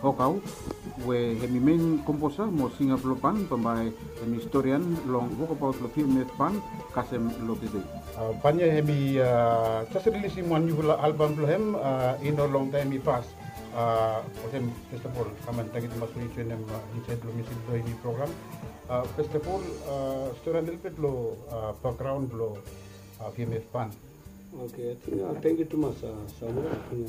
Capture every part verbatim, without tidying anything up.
Hokau, we hemi men komposa mo singa blong ban, bambae hemi storian long wokabaot blong V M F ban kasem long tede. Ban ya hemi jes rilisim wan niufala albam blong hem i no longtaem i pas. Olsem, first of all, kam an tangkiu tumas blong yu joenem insaed long musik blong yumi program. First of all, storian lelebet long bakgraon blong V M F ban. Oke, ating tangkiu tumas Samuel. Ating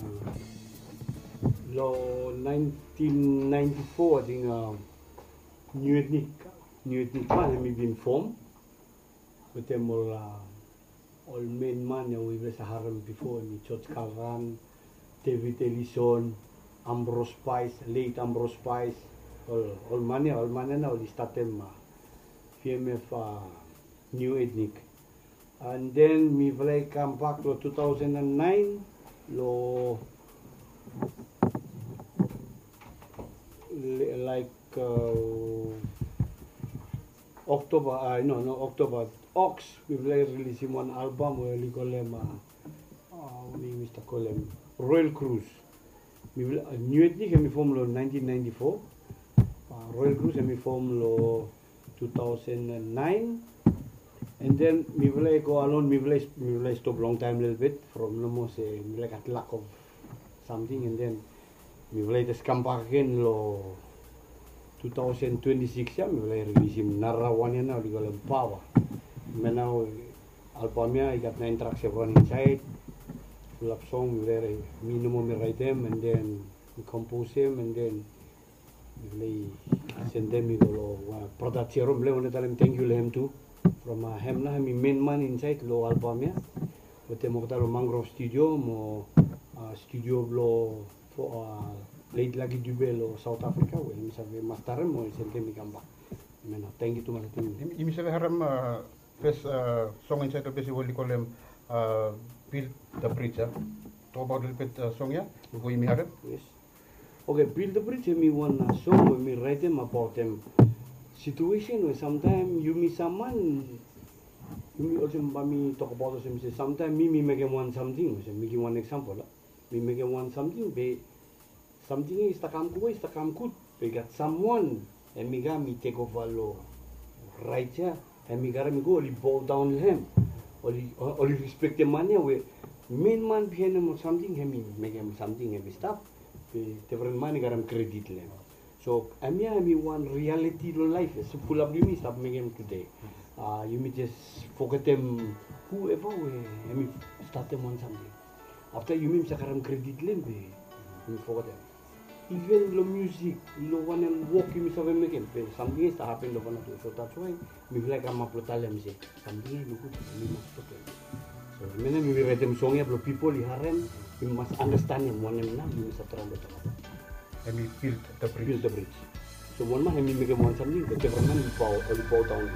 long naentin naenti fo, ating New Ethnic, New Ethnic ban hemi bin fom wetem ol ol men man ya we yufala save harem bifo, hemi George Kalran, David Ellison, Ambrose Spice, late Ambrose Spice. Ol man ya, ol man ya nao oli statem V M F New Ethnic. And then mifala i kambak long two thousand and nine long laek Oktoba, a no, no Oktoba, Oks, mifala i rilisim wan albam we oli kolem, a, wanem yumi stap kolem, Royal Cruise. Mifala, New Ethnic hemi fom long naentin naenti fo. Royal Cruise hemi fom long two thousand and nine. And then mifala i go alon, mifala i stop longtaem lelebet from nomo se mifala i gat lack of samting, and then mifala i jes kambak agen long two thousand twenty-six ya, mifala i rilisim nara wan ya nao oli kolem Paoa. Hemia nao albam ya i gat naen trak se wan insaed. Fulap song mifala i, mi nomo mi raetem, and then mi komposem, and then mifala i sendem i go long brata Jerome, mifala i wantem talem tangkiu long hem tu. From hem nao hemi men man insaed long albam ya wetem olgeta long Mangrove Studio mo studio blong late Lucky Dube long South Africa we hemi save mastarem mo sendem i kambak. Hemia nao, tangkiu tumas. Yumi save harem fes song insaed long ples ya we oli kolem Build the Bridge, a? Tokbaot lelebet song ya bifo yumi harem. Yes. Oke, Build the Bridge hemi wan song we mi raetem abaot hem situesen we samtaem yumi sam man, yumi olsem bae mi tokbaot olsem se samtaem mi, mi mekem wan samting, olsem mi givim wan eksampol, a, mi mekem wan samting be samting ya i stap kam gud, i stap kam gud, be i gat samwan hemi kam i tekova long raet ya, hemi karem i go, oli bodaon long hem, oli, oli respektem man ya we men man biaen ol samting, hemi mekem samting hemi stap, be defren man i karem kredit long hem. So hemia hemi wan rialiti long laef ya, so fulap blong yumi stap mekem tude. Yumi jes fogetem whoever we hemi statem wan samting. Afta yumi, yumi save karem kredit long hem be yumi fogetem. Iven long musik, long wanem wok yumi save mekem, be samting ya i stap hapen long fano tu. So that's why mifala i kamap long talem se samting ya i nogud, yumi mas stopem. So hemia nao mi raetem song ya blong pipol i harem, yumi mas andastanem wanem nao yumi save traem blong tokbaot. Hemi Build the Bridge. Build the Bridge. So wan man hemi mekem wan samting, be defren man oli bow, oli bodaon.